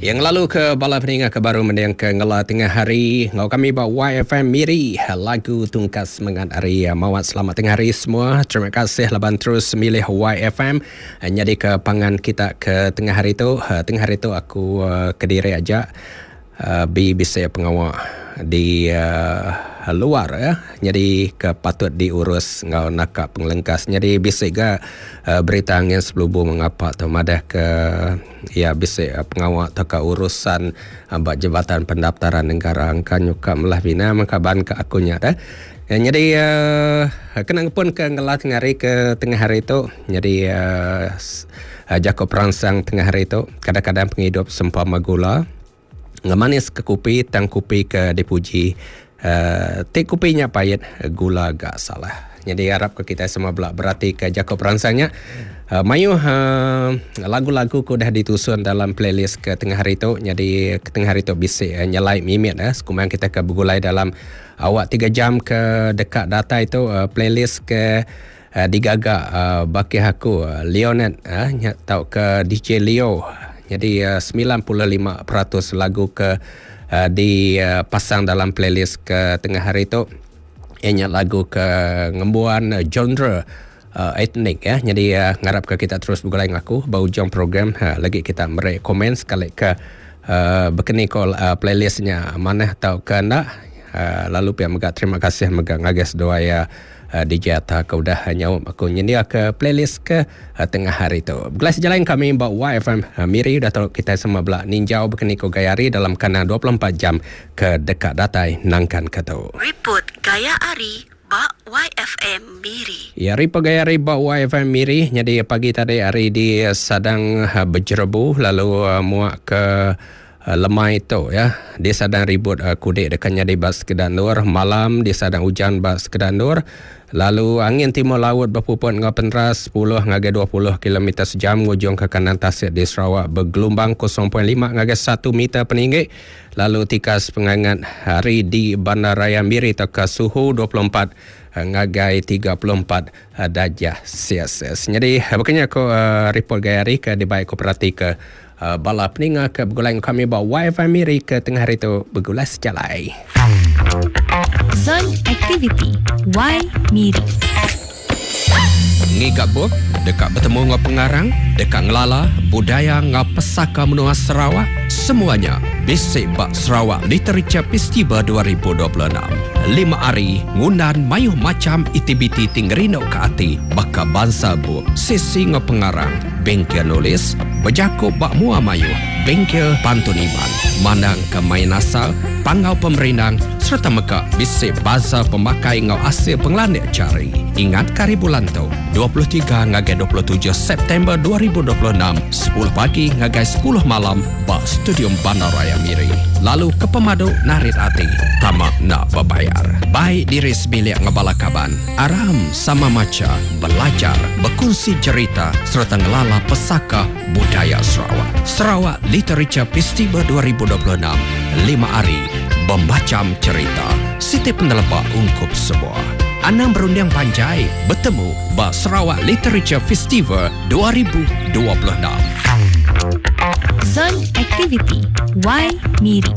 Yang lalu ke bala peninga ke baru mending ke ngela tengah hari ngau kami ba YFM Miri lagu tungkat semangat hari mawat. Selamat tengah hari semua. Terima kasih laban terus milih YFM nyadi ke pangan kita ke tengah hari tu. Tengah hari tu aku kediri aja bi bisi pengawa di luar ya. Nyadi ke patut diurus enggau naka pengelengkas. Nyadi bisi ga berita angin sebelubu mengapa tu madah ke ya bisi pengawa tauka urusan ba Jabatan Pendaftaran Negara engka nyuka melah bina mengka ban ke aku nya dah. Nyadi kena ngepun ke ngela tengah hari ke tengah hari tu nyadi jaku peransang tengah hari tu kadang-kadang pengidup sempama gula ngemanis ke kopi tang kopi ke dipuji ti kopi nya pait gula ga salah. Nyadi arap ke kitai semua bela berati ke jaku peransang nya. Mayuh lagu-lagu ke udah ditusun dalam playlist ke tengah hari tu. Nyadi ke tengah hari tu bisi nyelai mimit sekumbang kita ke begulai dalam awak 3 jam ke deka datai tu playlist ke digaga bakih aku Leonard nya tauka DJ Leo. Nyadi 95% lagu ke dipasang dalam playlist ke tengah hari tu iya nya lagu ke ngembuan genre etnik ya. Nyadi ngarap ke kita terus begulai enggau aku ba ujung program lagi kita meri komen sekali ke bekeni ko playlist nya manah tauka enda. Lalu pia mega terima kasih mega ngagai seduai iya DJ Atta ke udah nyaup aku nyendia ke playlist ke tengah hari tu. Begulai sejalai kami ba YFM Miri udah tu kita semua bela ninjau bekeni ko gaya hari dalam kandang 24 jam ke deka datai nangkan ke tu. Riput gaya hari ba YFM Miri. Ya, riput gaya hari ba YFM Miri nyadi pagi tadi hari di Sadang Bejerebu lalu muak ke lemai tu ya di Sadang ribut kudik deka nyadi ba sekeda endur, malam di Sadang ujan ba sekeda endur, lalu angin timur laut bepuput enggau peneras 10 ngagai 20 kilometer sejam ngujung ke kandang tasik di Sarawak begelumbang 0.5 ngagai 1 meter peninggi, lalu tikas pengangat hari di Bandaraya Miri tauka suhu 24 ngagai 34 darjah Celsius. Jadi bekenya ko report gaya hari ke dibai ko perati ke bala peninga ke begulai enggau kami ba YFM Miri ke tengah hari tu begulai sejalai. Zon Aktiviti Y Miri. Ngiga bup, deka betemu enggau pengarang, deka ngelala budaya enggau pesaka menua Sarawak, semua nya bisi ba Sarawak Literature Festival 2026. 5 hari ngundan mayuh macham aktiviti ti ngerinduka ati baka bansa bup, sesi enggau pengarang, bengkel nulis, bejaku ba mua mayuh, bengkel pantun Iban, mandangka main asal, panggau pemerindang sereta mega bisi bansa pemakai enggau asil pengelandik jari. Ingatka hari bulan tu, 23 ngagai 27 September 2026, 10 pagi ngagai 10 malam ba Stadium Bandaraya Miri. Lalu ke pemadu narit ati, tama enda bebayar. Bai diri sebilik enggau bala kaban, aram sama macha, belajar, bekunsi jerita sereta ngelala pesaka budaya Sarawak. Sarawak Literature Festival 2026, 5 hari bemacham cherita, siti peneleba ungkup semua. Anang berunding panjai, betemu ba Sarawak Literature Festival 2026. Zon Aktiviti Y Miri.